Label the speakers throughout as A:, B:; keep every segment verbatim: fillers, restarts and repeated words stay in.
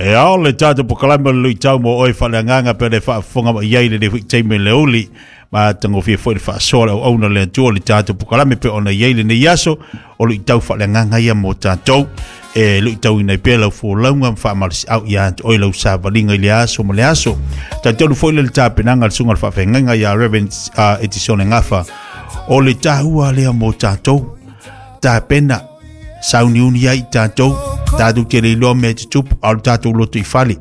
A: E ao le tātou pokalama le luitau mo oe whaleanganga pe le whaafonga ma iai le le hui teime le uli. Ma tangofia foi le whaasoa le au auna le atua le tātou pokalame pe ona iai le nei aso o luitau whaleanganga ia mo tātou. E luitau inai pea lau fōlaunga ma whaamalisi au ia atu oi lau sāwalinga i le aso ma le aso. Tātou foi le tāpenanga le sunga le whaafengainga ia Reverend uh, Etisone Ngafa. O le tāhua lea mo tātou. Tāpena sauniuni ai tātou. Tātou te leiloa mea te tupu au tātou loto i fale.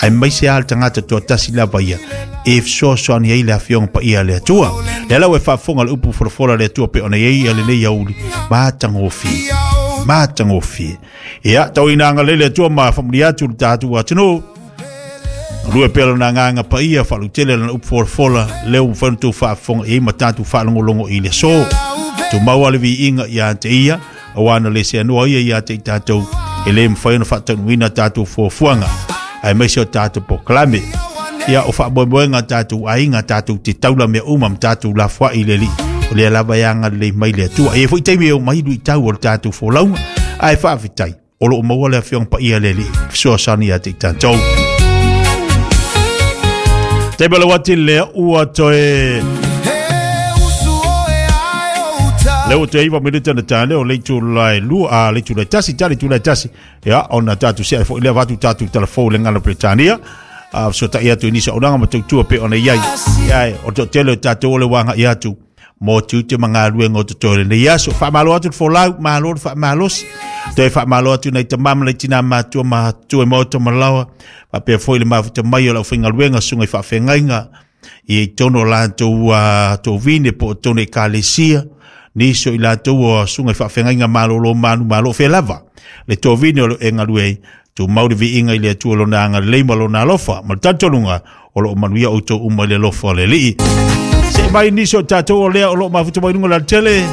A: Ai mai se al tangata toa tasi lava ia. E fesoasoani ai le afioga paia le Atua. Le lau e faafofoga le upu folafola le Atua pe ona iai a lenei auli. Matagofie. Matagofie. Ia, tau ina agalelei le Atua ma faamanuia atu le tatou atunuu. Lua pea lona agaga paia faalutele lana upu folafola lea ua mafai ona tou faafofoga i ai ma tatou faalogologo i le aso. Tumau le viiga ia te ia, auā na le seanoa ia ia te i tatou e lē mafai ona faataunuuina tatou fuafuaga aemaise o tatou polokalame. Ia o faamoemoega tatou aiga tatou te taula mea uma ma tatou lafoai i le Alii o lea lava e agalelei mai le Atua. E iai foi taimi e oo mai luitau o le tatou folauga ae faafetai o loo maua le afioga paia le Alii fesoasoani ia te i tatou. Taimi o le uati lea ua toe lea ua toe iva minute na tane o le itulai lua a le itulai tasi tali itulai tasi ia ona tatou se'e foi lea avatu tatou talafou le gala Peretania a fesota'i atu i nisi auaunaga ma tautua pe ona iai ia o le toatele o tatou o le uaga'i atu mo tiute ma galuega o totoe lenei aso. Faamalo atu le folau, malo le faamalosi. Toe faamalo atu nai tamā ma nai tinā matua matutua i maota ma laoa. Faapea foi le mafuta mai o le aufaigaluega susuga i faafeagaiga i totonu o latou uh, tovine po o totonu ekalesia. Nisi o i latou o susuga i faafeagaiga malolo manu malo fea lava. Le tovine o lo e galue ai, tumau le viiga i le Atua lona agalelei ma lona alofa. Ma le talitonuga o loo manuia outou uma i le alofa o le Alii. Se mai nisi o tatou o lea o loo mafuta mai luga o le alatele.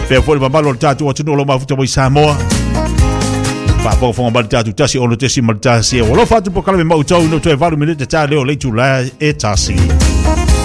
A: Pea foi le mamalu o le tatou atunuu o loo mafuta mai Samoa. Faafogafoga mai le tatou tasi ono tesi ma le tasi. E alofa atu po kalame mau tau no toe valu minute ta leo le itula e tasi.